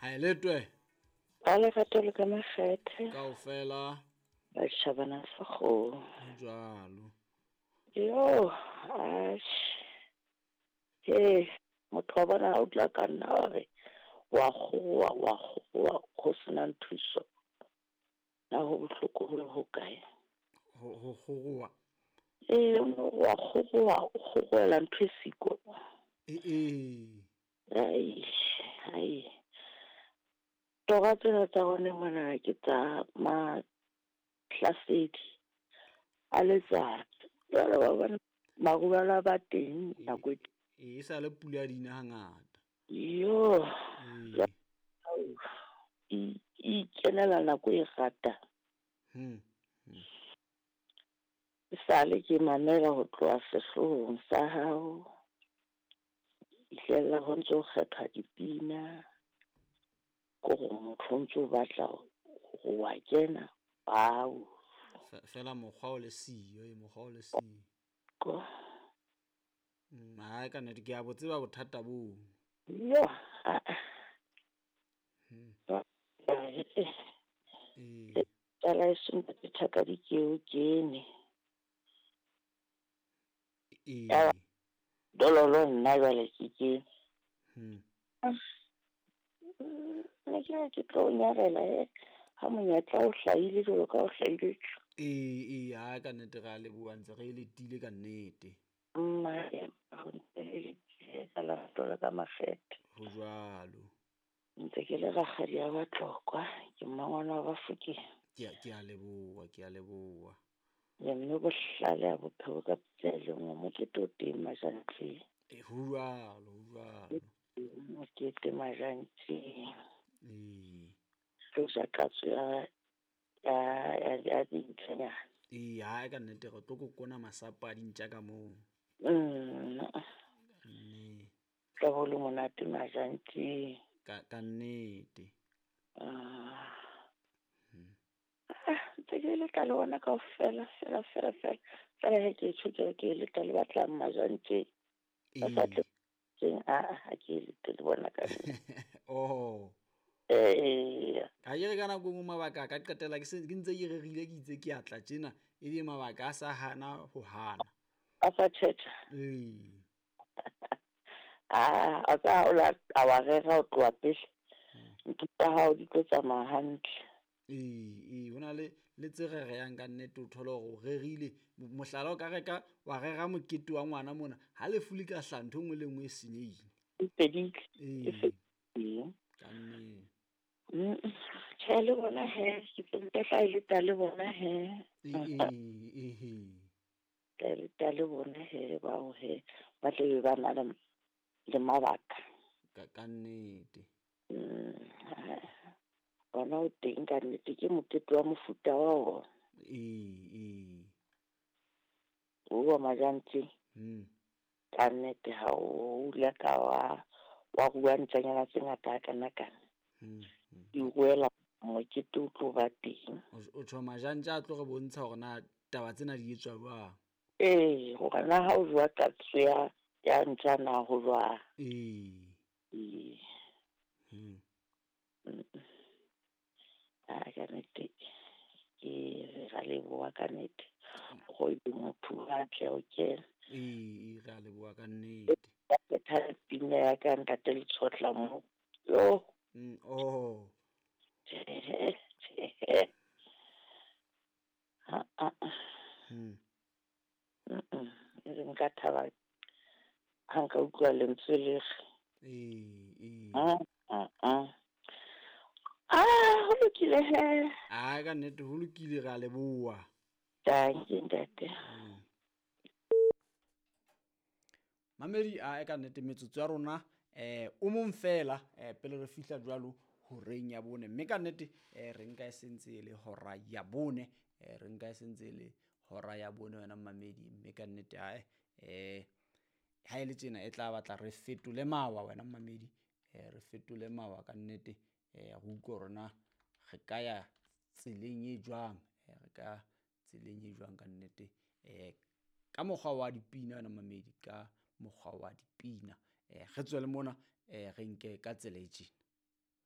Ha e letwe. Ba lerato le ka makgethe. Kaofela. Ba tjhabana sa kgomo. Ho jwalo. Yo, atjhe. He, motho wa bona ha o dula ka nna wa re wa kgoroha, wa kgoroha ho senang thuso. Na ho bohloko ho le hokae? Ho kgoroha. Ee, o no wa kgoroha, o kgorohela ntho e siko. Ee. Ai, ai. Tora tsena tsa rona mona ke tsa mahlasedi a letsatsi. Jwale wa bona marulelo a ba teng nako e E sa le pula di na hangata. Yo. Ee. E ikenela nako e rata. Sale ke mamela ho tloha sehloohong sa hao. Fihlella ho ntso kgethwa dipina. Kore motho o ntso batla ho wa kena. Au. Fela mokgwa o le siyo, mokgwa o le siyo. Ko. Ha ka nnete ke a bo tseba bothata boo. Yo. Ee. Tsala e seng ke thaka di ke o kene. Ee. Dololo nna jwale ke kene. Ne ke re ke tlo nyarela ha monyetla o hlahile jwalo ka o hlahile. Ee, ha ka nnete re a leboha ntse re letile ka nnete. Mma ho ntse le ka lerato le ka makgethe. Ho jwalo. Ntse ke le rakgadi ya Batlokwa, ke mmangwana wa Bafokeng. Ke a leboha, ke a leboha. Le mme bohlale a bophelo ka pitsa e le nngwe, mokete o teng Majantleng. Ho jwalo, ho jwalo. Mokete Majantleng. Ee. Tlo ja katso ya dintjanyana. Ee, ha ka nnete re tlo kokona masapo a dintja ka moo. Nne. Tla bo le monate Majantleng. Ka nnete. Ntse ke leta le bona kaofela, fela, fela, fela. Fela he ke tjho ke re ke leta le batlang Majantleng. Ba sa tle teng, ha ke lete le bona ka nnete. Oh. Ee. Ha ke re ka nako e nngwe mabaka a ka qetella ke se ke ntse ke rerile ke itse ke a tla tjena, ebe mabaka a sa hana ho hana. A sa tjhetjha. Ee. A ka o la a wa rera ho tloha pele. Ntho tsa hao di tlo tsamaya hantle. Ee, ho na le tse rereyang ka nnete, o thole hore o rerile. Mohlala o ka reka wa rera mokete wa ngwana mona, ha lefu le ka hlaha ntho e nngwe le nngwe e senyehile. E fedile. E Ee. fedile. Ka nnete. Tjhe le bona he, ke tlo tla e leta le bona he. Ee. Tla e leta le bona he bao he, ba tle be ba na le mabaka. Ka nnete. Bona o teng ka nnete ke mokete wa mofuta wa ona. Ee. O wa Majantleng. Ka nnete ha o ile ka wa rua ntjanyana tse ngata ha kana kana. Di ruela mokete o tlo ba teng. O tjho Majantja a tlo re bontsha hore na taba tsena di etswa jwang. Ee, hore na ha o jwa katso ya ntja na ho jwang. Ee. Ee. A ka nnete ke re leboha ka nnete. Go e motho a tle o kena. Ee, re a leboha ka nnete. Ke thata pina ya ka ntate le tshotla mo. Yo. Oh. Ha a. E re nka thaba ha nka utlwa lentswe le re. Ee. Ah, ho lokile he. Ah, ka nnete ho lokile, re a leboha. Thank you, ntate. Mamedi a ka nnete metsotso ya rona o mong fela pele re fihla jwalo horeng ya bone, mme ka nnete re nka e sentse e le hora ya bone, re nka e sentse e le hora ya bone wena mamedi, mme ka nnete ha ha e le tjena e tla batla re fetole mawa wena mamedi, re fetole mawa ka nnete, re utlwe hore na re ka ya tseleng e jwang, re ka tseleng e jwang ka nnete, ka mokgwa wa dipina wena mamedi, ka mokgwa wa dipina, re tswele mona, re nke ka tsela e tjena.